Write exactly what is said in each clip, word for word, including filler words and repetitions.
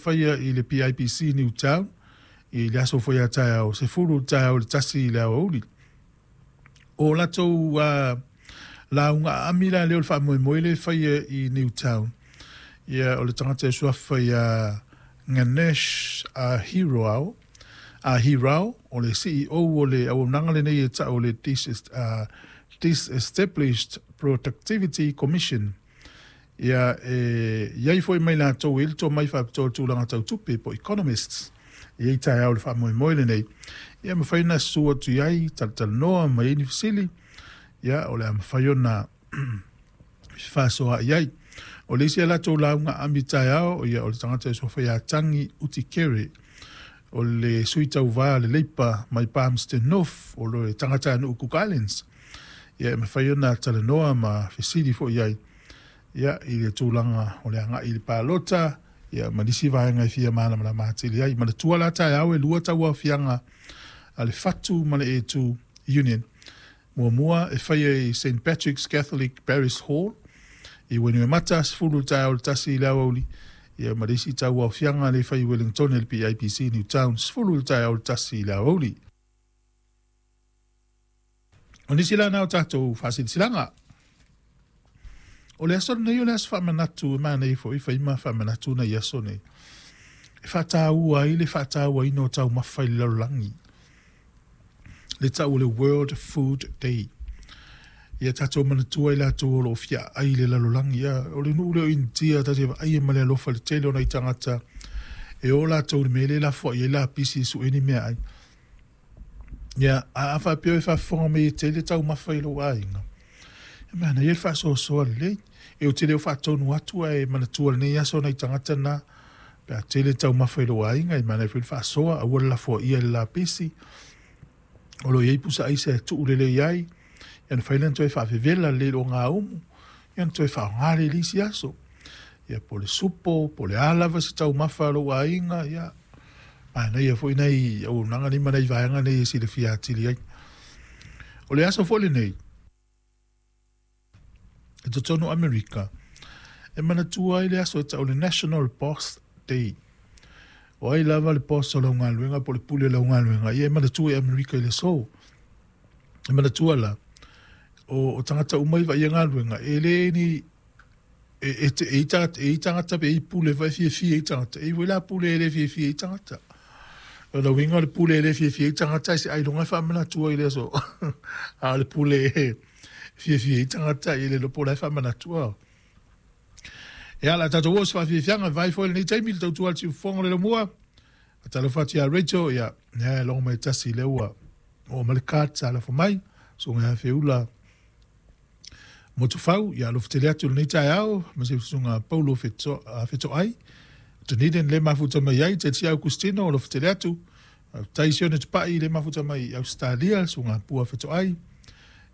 faia i le P I P C Newtown i le aso foi a taeao, sefulu i le taeao i le tasi i le aoauli. O latou uh, lauga aami la lea o le faamoemoe le faia i Newtown. Ia, o le tagata e suafa ia Ganesh uh, Hirao, uh, Hirao, o le C E O o le auaunaga lenei e ta'u o le Dis, uh, Disestablished Productivity Commission. Ia, e iai foi mai latou e le tomai faapitoa le tulaga tautupe po economists. Ia i taeao le faamoemoe lenei. Ia, mafai ona susu atu i ai, talatalanoa ma iai ni fesili. Ia, o le a mafai ona faasoa i ai. O le isi a latou lauga aami taeao, ia, o le tagata e suafa ia Tangi Utikere, o le sui tauvā le Leipa mai Palmerston North, o le tagata a nuu Cook Islands. Ia, e mafai ona talanoa ma fesili foi ai, ia, i le tulaga o le agai i le palota, ia, ma nisi vaega e fia malamalama atili ai. Manatua la taeao e lua tauaofiaga a le Fatu ma le E two Union. Muamua e faia i Saint Patrick's Catholic Parish Hall i Wainuiomata, sefulu i le taeao i le tasi i le aoauli. Ia, ma le isi tauaofiaga le fai i Wellington i le P I P C Newtown, sefulu i le taeao i le tasi i le aoauli. O nisi la na o tatou faasilasilaga. O le aso lenei o le aso faamanatu e manaia foi fai ma faamanatu nai aso nei. E faataua ai le faatauaina o taumafa i le lalolagi. Le ta'u o le World Food Day. Ia tatou manatua i latou o loo fiaai i le lalolagi. Ia, o le nuu lea o Initia, tatou vaai ma le alofa i le tele o nai tagata e o latou i le mea lea e lafoai ai lapisi e sue ni meaai. Ia, a a faapea e faafofoga mai e tele taumafa i lou aiga. E manaia le faasoasoa lelei. E ou te le o faatonu atu ae manatua lenei aso nai tagata na. Pe a tele taumafa i lou aiga, e manaia foi le faasoa, aua le lafoaia i le lapisi. O lo o iai pusa aisa e tuu lelei ai. Ia, na fai lea na toe faavevela lelei i lou gaumu. Ia, na toe faaaoga lea i le isi aso. Ia, po o le supo, po o le a lava se taumafa a lou aiga, ia, manaia foi nai auaunaga nei ma nai vaega nei e silafia atili ai. O le aso foi lenei, e totonu o Amerika, e manatua ai le aso e ta'u o le National Boss Day. O ai lava le boss o lau galuega po o le pule o lau galuega, ia e manatua i Amerika i le aso. E manatua la, o, o tagata uma i vaaia galuega, e le ni e e te e i tagata, e i tagata pe i pule vai fiafia i tagata. E i foi la pule e le fiafia i tagata. O le uiga o le pule e le fiafia i tagata, e se ailoga e faamanatua i le aso. A o le pule e fiafia i tagata, i le iloa po o la e faamanatua. E ala tatou oo se faafiafiaga, vai foi lenei taimi le tautua a le siufofoga o le laumua. Faatalofa atu ia Rachel, ia, ia, e logo mai tasi lea ua oo mai le card sa lafo mai, susuga ia Feula Motufau, ia alofa tele atu lenei taeao, ma se susuga Paulo Feto, uh, Fetoai, Dunedin le mafuta mai ai, Te Tia Augustino, alofa tele atu, faafetai Sione Tupai le mafuta mai i Australia, susuga Pua Fetoai,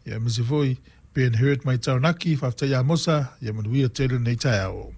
ia ma se foi Ben Hurt mai Taranaki, faafetai ia Mosa, ia manuia tele lenei taeao.